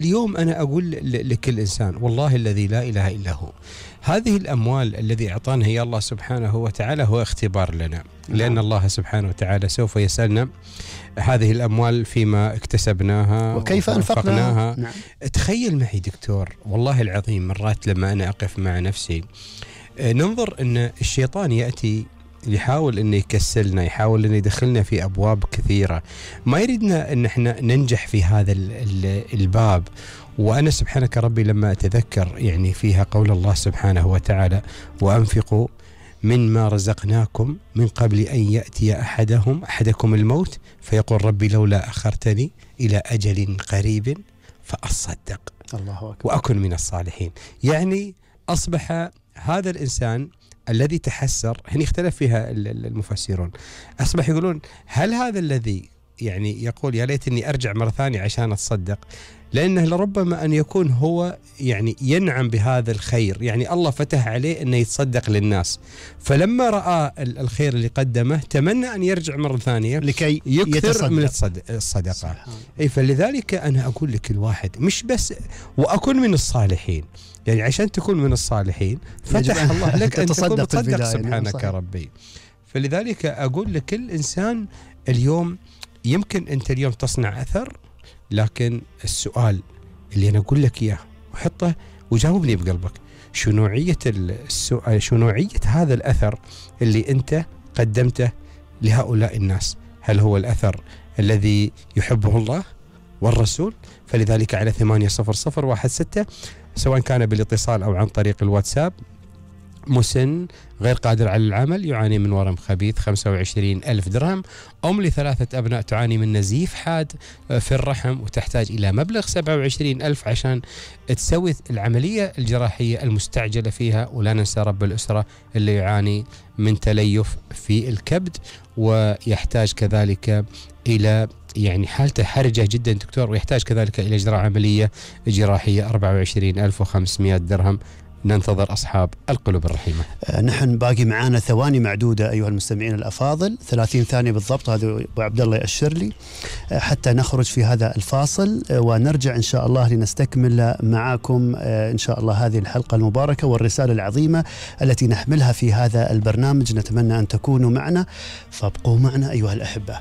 اليوم أنا أقول لكل إنسان والله الذي لا إله إلا هو، هذه الأموال الذي أعطانا هي الله سبحانه وتعالى هو اختبار لنا، لأن الله سبحانه وتعالى سوف يسألنا هذه الأموال فيما اكتسبناها وكيف أنفقناها. نعم. تخيل معي دكتور والله العظيم مرات لما أنا أقف مع نفسي ننظر أن الشيطان يأتي يحاول أنه يكسلنا، يحاول أنه يدخلنا في أبواب كثيرة، ما يريدنا أن احنا ننجح في هذا الباب. وأنا سبحانك ربي لما أتذكر يعني فيها قول الله سبحانه وتعالى وأنفقوا مما رزقناكم من قبل أن يأتي أحدكم الموت فيقول ربي لولا أخرتني إلى أجل قريب فأصدق الله أكبر وأكن من الصالحين. يعني أصبح هذا الإنسان الذي تحسر، هنا اختلف فيها المفسرون، أصبح يقولون هل هذا الذي يعني يقول يا ليتني أرجع مرة ثانية عشان أتصدق، لأنه لربما أن يكون هو يعني ينعم بهذا الخير، يعني الله فتح عليه أنه يتصدق للناس، فلما رأى الخير اللي قدمه تمنى أن يرجع مرة ثانية لكي يكثر من الصدقة. أي فلذلك أنا أقول لكل واحد مش بس وأكون من الصالحين، يعني عشان تكون من الصالحين فتح الله لك أن تكون تصدق سبحانك ربي. فلذلك أقول لكل إنسان اليوم يمكن أنت اليوم تصنع أثر، لكن السؤال اللي أنا أقول لك إياه وحطه وجاوبني بقلبك، شو نوعية السؤال، شو نوعية هذا الأثر اللي أنت قدمته لهؤلاء الناس؟ هل هو الأثر الذي يحبه الله والرسول؟ فلذلك على 80016 سواء كان بالاتصال أو عن طريق الواتساب، مسن غير قادر على العمل يعاني من ورم خبيث 25,000 درهم، أم ل3 أبناء تعاني من نزيف حاد في الرحم وتحتاج إلى مبلغ 27,000 عشان تسوي العملية الجراحية المستعجلة فيها. ولا ننسى رب الأسرة اللي يعاني من تليف في الكبد ويحتاج كذلك إلى يعني حالته حرجة جدا دكتور، ويحتاج كذلك إلى إجراء عملية جراحية 24,500 درهم. ننتظر أصحاب القلوب الرحيمة. نحن باقي معانا ثواني معدودة أيها المستمعين الأفاضل، 30 ثانية بالضبط، هذا أبو عبد الله يأشر لي حتى نخرج في هذا الفاصل ونرجع إن شاء الله لنستكمل معاكم إن شاء الله هذه الحلقة المباركة والرسالة العظيمة التي نحملها في هذا البرنامج. نتمنى أن تكونوا معنا، فابقوا معنا أيها الأحبة.